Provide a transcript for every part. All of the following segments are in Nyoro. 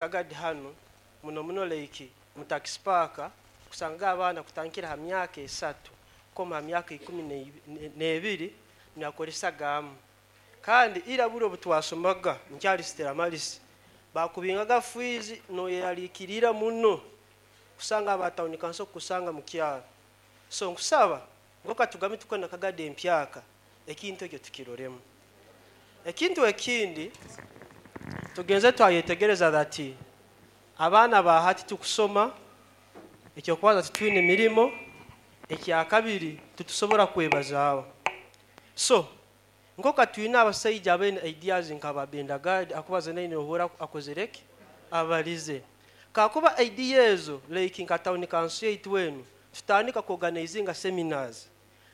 Kagadi hanu muno muno, like mu taxi park, kusanga abaana kutandikira ha myaka 3 koma ha myaka 12 nibakoresagamu. Kandi ira buli obu twasomaga nkyali Stella Maris, bakubingaga fees noyeralikirira muno kusanga aba town council kusanga mu kyaro. So nkusaba ngoka tugambe tukona Kagadi empyaka, ekintu ekyo tukiroremu. Ekintu ekindi tugenze twayetegereza that abaana ba hati tukusoma, ekyokubanza titwine mirimo, ekyakabiri titusobora kwebazaaho. So nkoka twine abasaija abaine ideas nka babendagadi akubaza naine ohura akozereki abalize kakuba idea ezo, like nka town council yaitu enu tutandika kuorganizinga seminars,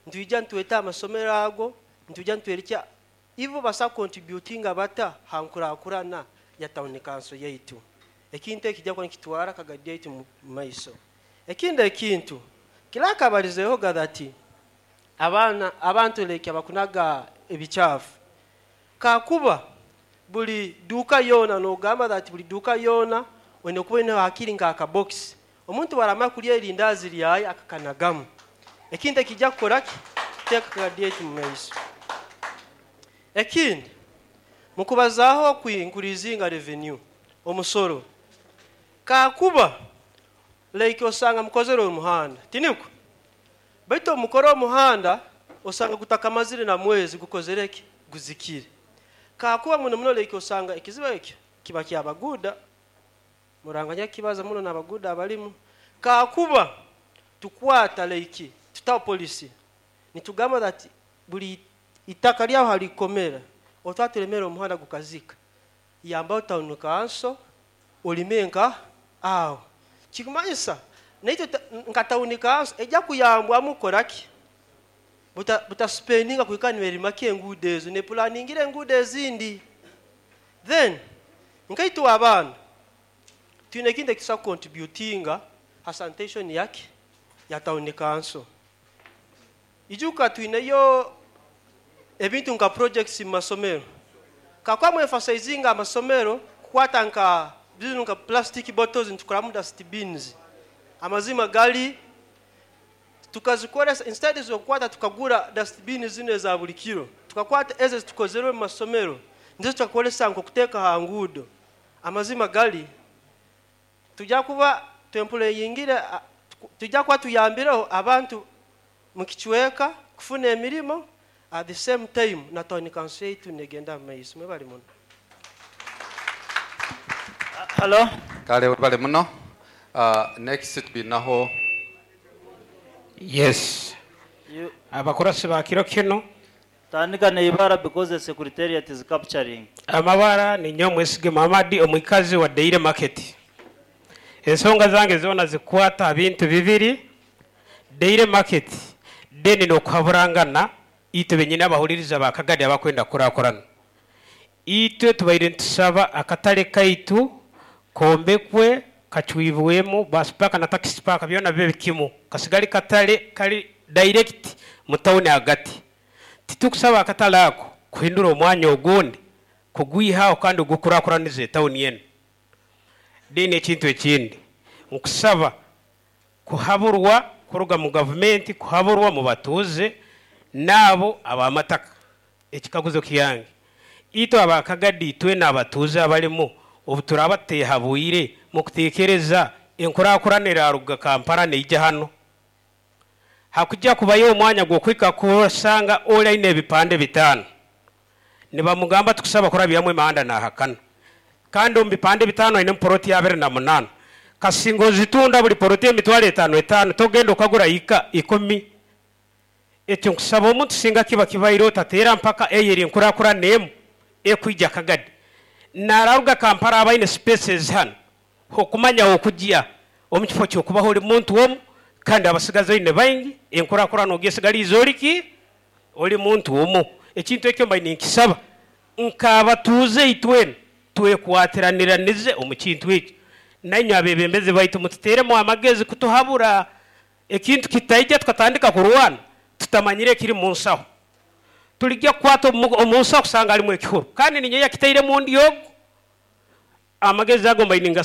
ntwija ntweta amasomero ago, ntwija ntwerekya ibo basa contributinga bata ha nkurakurana ya town council yaitu. Ekintu ekijja kuba nikitwara Kagadi yaitu mu maiso. Ekindi ekintu kirakabalizeho that abaana abantu like abakunaga ebikyafu, kakuba buli duka yona nogamba that buli duka yona oine kuba oine hakiri nk'akabokisi, omuntu waramara kulya erindazi lyaye akakanagamu. Ekintu ekijja kukora ki teeka Kagadi yaitu mu maiso. Ekindi mukubazaaho kwinkurizinga revenue, omusoro, kakuba like osanga mukozere omuhanda, tiniko? Baitu omukoro omuhanda osanga gutakamazire na mwezi gukozere ki guzikire. Kakuba muno muno like osanga ekizibu ekyo kiba kyabaguda muranganya kibaza muno n'abaguda abalimu, kakuba tukwata like tutaho policy nitugamba that buli itaka lyaho halikomera otwaturemera omuhanda gukazika, yambaho town council olime nka aho kikumanyisa naitwe nka town council ejja kuyambwamu kukoraki butaspendinga kuhika niberimako enguudo ezo nepulaningira enguudo ezindi. Then nkaitwe abaana twine ekintu ekitusobola kucontributinga ha sanitation yake ya town council. Ijuka twineyo ebintu nka projects mu masomero, kakuba mwemphasizinga amasomero kukwata nka zino nka plastic bottles nitukoramu dustbins. Amazima gali tukazikoresa instead zokukwata tukagura dustbin zino eza buli kiro, tukakwata ezo zitukozerwe mu masomero nizo tukakoresa nk'okuteeka ha nguudo. Amazima gali tujja kuba twempuleyingire, tujja kuba tuyambireho abantu mu kicweka kufuna emirimo, at the same time na town council yaitu negenda mu maiso. Mwebale muno. Hello. Kale webale muno. Next twinaho Yes. Abakurasi ba kiro kino. Tandika neibara because the secretariat is capturing. Amabara ninyo Mwesige Muhammad, omwikazi wa Daily Market. Ensonga zange zona zikwata bintu bibiri: Daily Market deni nokuhaburangana itwe benyine abahuliriza bakagadi abakwenda kurakurana. Itwe tubaire ntusaba akatale kaitu kombekwe, kacwibwemu bus park na taxi park byona bibe kimu, kasigali katale kali direct mu town hagati. Titukusaba akatale ako kuhindura omwanya ogundi kugwihaho kandi ogukurakuraniza etawuni yenu. Then ekintu ekindi nkusaba kuhaburwa kuruga mu gavumenti, kuhaburwa mu batuuze naabo abamataka. Ekikaguzo kyange, itwe abakagadi twena abatuuze abalimu, obu turaba tutehabwire mukutekereza enkurakurana eraruga Kampala neija hano, hakujja kubayo omwanya gw'okwika kusanga oli aine ebipande 5 nibamugamba tukusaba kurabyamu emihanda nahakana, kandi omu bipande 5 aine poroti ya 28, kasinga ozitunda buli poroti emitwaro 5 5, togenda okagura ika 10. Ekyo nkusaba omuntu singa kiba kibaire otateera mpaka eyeri enkurakurana emu ekwija Kagadi nararuga Kampala abaine spaces hano okumanya okujya omu kifo kyokubaho oli muntu omu kandi abasigazi oine baingi, enkurakurana ogyesigaliize oliki oli muntu omu. Ekintu ekyo mbaine nkisaba nk'abatuuze itwena twekwatiraniranize omu kintu ekyo, nainywe abebembezi baitu mututeeremu amagezi kutuhabura ekintu kitaija tukatandika kurwana tutamanyire ekiri mu nsaho. Tulijja kukwata omu nsaho kusanga harimu ekihuru kandi ninyo yakitairemu ndi ogu. Amagezi ago mbaine.